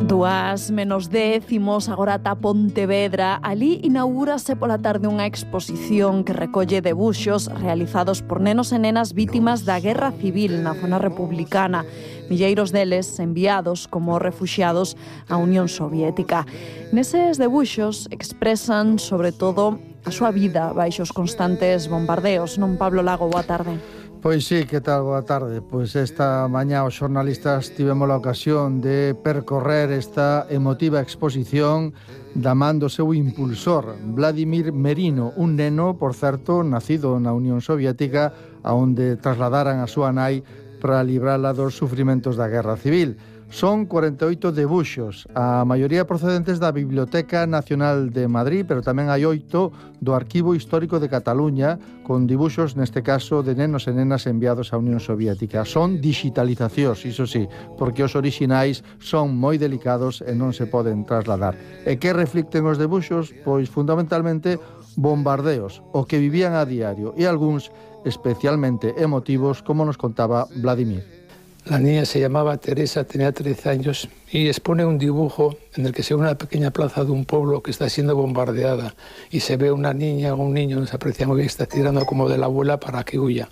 2:10, agora ata Pontevedra. Ali inaugúrase pola tarde unha exposición que recolle debuxos realizados por nenos e nenas vítimas da Guerra Civil na zona republicana. Milleiros deles enviados como refuxiados á Unión Soviética. Neses debuxos expresan, sobre todo, a súa vida baixo os constantes bombardeos. Non, Pablo Lago, boa tarde. Pois sí, que tal? Boa tarde. Pois esta mañá os xornalistas tivemos a ocasión de percorrer esta emotiva exposición da man do seu impulsor, Vladimir Merino, un neno, por certo, nacido na Unión Soviética, aonde trasladaran a súa nai para librala dos sufrimentos da Guerra Civil. Son 48 debuxos, a maioría procedentes da Biblioteca Nacional de Madrid, pero tamén hai 8 do Arquivo Histórico de Cataluña, con dibuxos, neste caso, de nenos e nenas enviados á Unión Soviética. Son digitalizacións, iso sí, porque os orixinais son moi delicados e non se poden trasladar. E que reflicten os debuxos? Pois, fundamentalmente, bombardeos, o que vivían a diario, e algúns especialmente emotivos, como nos contaba Vladimir. La niña se llamaba Teresa, tenía 13 años y expone un dibujo en el que se ve una pequeña plaza de un pueblo que está siendo bombardeada y se ve una niña o un niño, no se aprecia muy bien, está tirando como de la abuela para que huya.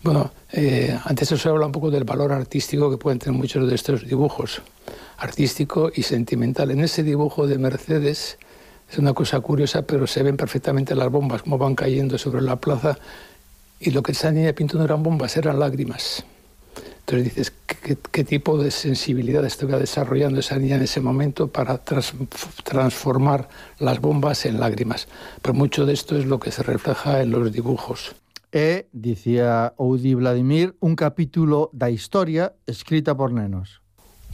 Bueno, antes se habla un poco del valor artístico que pueden tener muchos de estos dibujos, artístico y sentimental. En ese dibujo de Mercedes es una cosa curiosa, pero se ven perfectamente las bombas, cómo van cayendo sobre la plaza, y lo que esa niña pintó no eran bombas, eran lágrimas. Entonces dices, ¿qué tipo de sensibilidad estaba desarrollando esa niña en ese momento para transformar las bombas en lágrimas? Pero mucho de esto es lo que se refleja en los dibujos. Dicía Oudi Vladimir, un capítulo da historia escrita por nenos.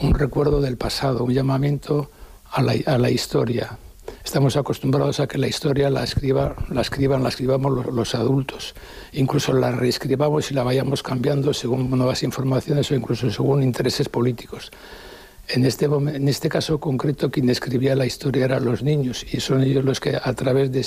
Un recuerdo del pasado, un llamamiento a la historia. Estamos acostumbrados a que la historia la escribamos los adultos. Incluso la reescribamos y la vayamos cambiando según nuevas informaciones o incluso según intereses políticos. En este caso concreto, quien escribía la historia eran los niños, y son ellos los que a través de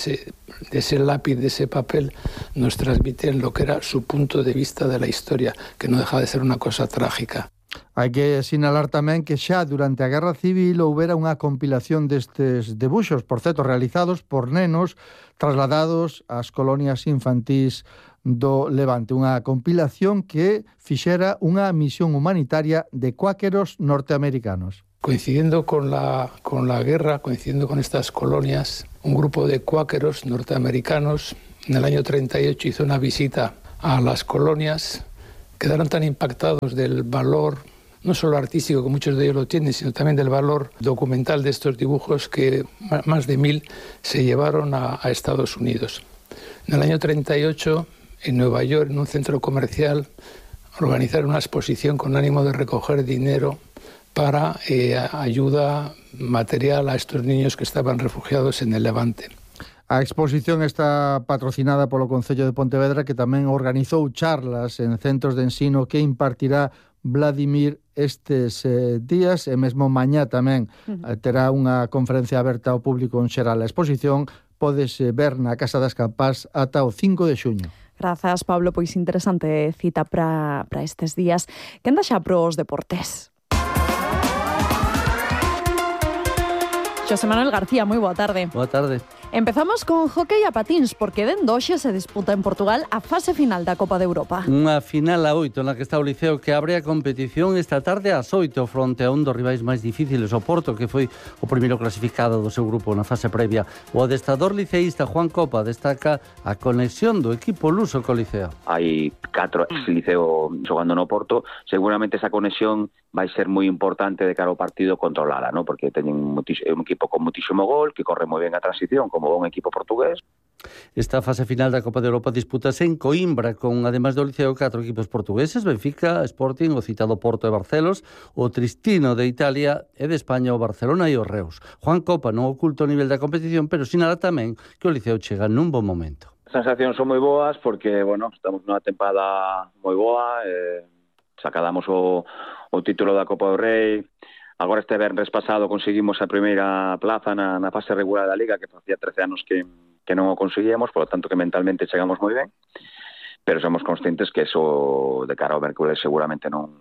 ese lápiz, de ese papel, nos transmiten lo que era su punto de vista de la historia, que no deja de ser una cosa trágica. Hai que sinalar tamén que xa durante a Guerra Civil houbera unha compilación destes debuxos, por certo, realizados por nenos trasladados ás colonias infantís do Levante. Unha compilación que fixera unha misión humanitaria de cuáqueros norteamericanos. Coincidiendo con la guerra, coincidiendo con estas colonias, un grupo de cuáqueros norteamericanos en el año 38 hizo una visita a las colonias. Quedaron tan impactados del valor, no solo artístico, que muchos de ellos lo tienen, sino también del valor documental de estos dibujos, que más de 1000 se llevaron a Estados Unidos. En el año 38, en Nueva York, en un centro comercial, organizaron una exposición con ánimo de recoger dinero para ayuda material a estos niños que estaban refugiados en el Levante. A exposición está patrocinada polo Concello de Pontevedra, que tamén organizou charlas en centros de ensino que impartirá Vladimir estes días, e mesmo mañá tamén terá unha conferencia aberta ao público en xeral. A exposición podes ver na Casa das Campás ata o 5 de xuño. Grazas, Pablo, pois interesante cita para estes días. Que anda xa pros deportes? Xosé Manuel García, moi boa tarde. Boa tarde. Empezamos con hóquei a patíns, porque dende hoxe se disputa en Portugal a fase final da Copa de Europa. Unha final a 8 na que está o Liceo, que abre a competición esta tarde ás 8 fronte a un dos rivais máis difíciles, o Porto, que foi o primeiro clasificado do seu grupo na fase previa. O adestrador liceísta Juan Copa destaca a conexión do equipo luso co Liceo. Hai 4 ex-Liceo xogando no Porto, seguramente esa conexión vai ser moi importante de cara ao partido controlada, ¿no? Porque teñen un equipo con muitísimo gol, que corre moi ben a transición, como un equipo portugués. Esta fase final da Copa de Europa dispútase en Coimbra, con, ademais do Liceo, 4 equipos portugueses: Benfica, Sporting, o citado Porto e Barcelos, o Tristino de Italia, e de España o Barcelona e o Reus. Juan Copa non oculta o nivel da competición, pero sinala tamén que o Liceo chega nun bon momento. As sensacións son moi boas porque, bueno, estamos nunha tempada moi boa, sacadamos o título da Copa do Rei. Agora este venres pasado conseguimos a primeira plaza na fase regular da Liga, que facía 13 anos que non o conseguíamos, por lo tanto que mentalmente chegamos moi ben, pero somos conscientes que eso de cara ao Mércoles seguramente non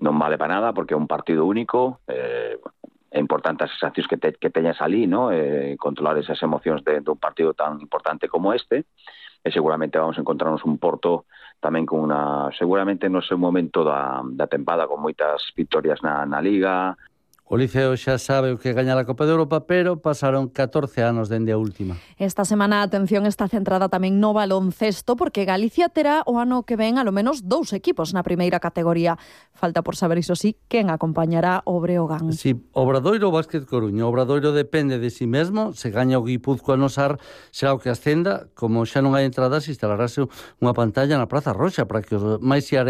vale para nada, porque é un partido único, é importante as sensacións que teñas ali, ¿no? Controlar esas emocións de un partido tan importante como este, e seguramente vamos a encontrarnos un Porto tamén con seguramente no seu momento da tempada, con moitas victorias na Liga. O Liceo xa sabe o que gaña a Copa de Europa, pero pasaron 14 anos dende a última. Esta semana a atención está centrada tamén no baloncesto, porque Galicia terá o ano que ven alo menos 2 equipos na primeira categoría. Falta por saber, iso sí, quen acompañará o Breogán. Si Obradoiro ou Básquet Coruña. O Obradoiro depende de si mesmo. Se gaña o Guipúzcoa no Sar, será o que ascenda. Como xa non hai entradas, instalarase unha pantalla na Praza Roxa para que os máis